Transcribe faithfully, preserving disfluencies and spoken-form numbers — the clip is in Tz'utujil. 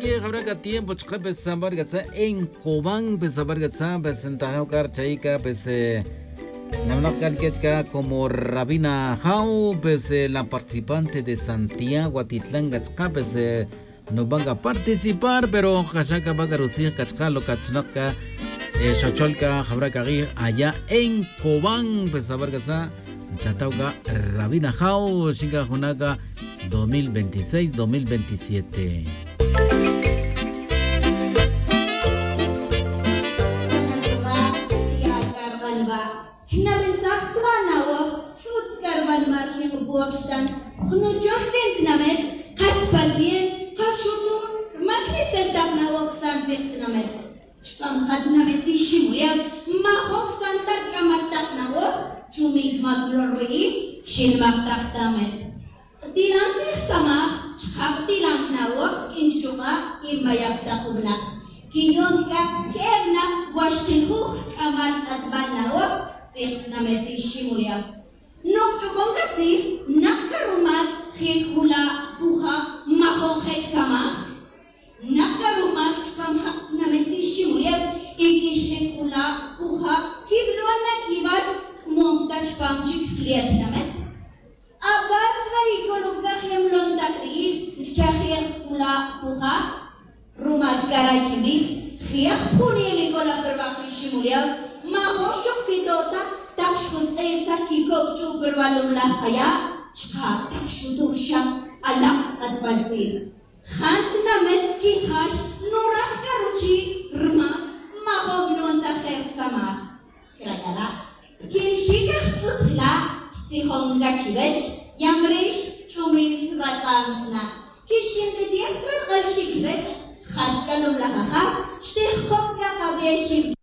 Jawra' c'a tiempo chka' pues sabar c'a tz'a en Cobán pues sabar c'a tz'a pues ntajaw c'a rchayic c'a pues, nawinak c'a nquet c'a como Rabina Jaw pues, la participante de Santiago atitlan c'a chka' pues, nuban c'a participar pero jaxa' c'a ba c'a rutzij c'a chka' lo c'a chnak c'a, xochol c'a jawra' c'a k'ij aya' en Cobán pues sabar c'a tz'a. Nchataw c'a Rabina Jaw xin c'a juna' c'a dos mil veintiséis dos mil veintisiete. Jnabensaj tzra' nawoj ch'utz c'a rbanma' rxin jbor xtan jnuchoj tzin tinamet. Kas pal bien kas xutum rma jnitz'el tak nawoj ksan tzin tinamet. Chpam ja' tinamet iximulew majok ksan ta rc'amal tak nawoj. Chumin jmac lo rwi'ij xinmak tak tinamet. Ktilan tzij samaj chka' ktilan nawoj rq'uin kchuk'a' y mayac tak winak. Quiyon c'a que'e winak wa xkijuj rc'amal c'atbal nawoj. Tzij tinamet iximulew. Nokch'ucon c'a tzij nak c'a rumac jij jula' puja' majon je' samaj. Nak c'a rumac chpam ja' tinamet iximulew y quixjic jula' puja' quiblo' na c'ibal c'mon ta chpam chic jle' tinamet. Abar tzra' y coloc c'a jemlon tak ri'ij nchajej jula' puja'. Rumal c'a ra' quibij jek' jpuniel y c'o la pe rba' kiximulew. Majox xok quito' ta tak xjutz'e' tzaj quicoc ch'u' pe rba' lum laj kaya'. Chka' tak xutuj xa alak' c'atbal tzij. Jantinamet squinjax nuraj c'a ruchi' rma majok lun ta je' rsamaj. Cra' c'a ra' quinxi' c'a jtz'ut jla' xtzijon c'a chiwech. Yamrix ch'umil ratz'an jna' quixinbetej tzra' rk'al xi' chiwech. Jat c'a lum laj ajaj xtijkoj c'a kabe jin.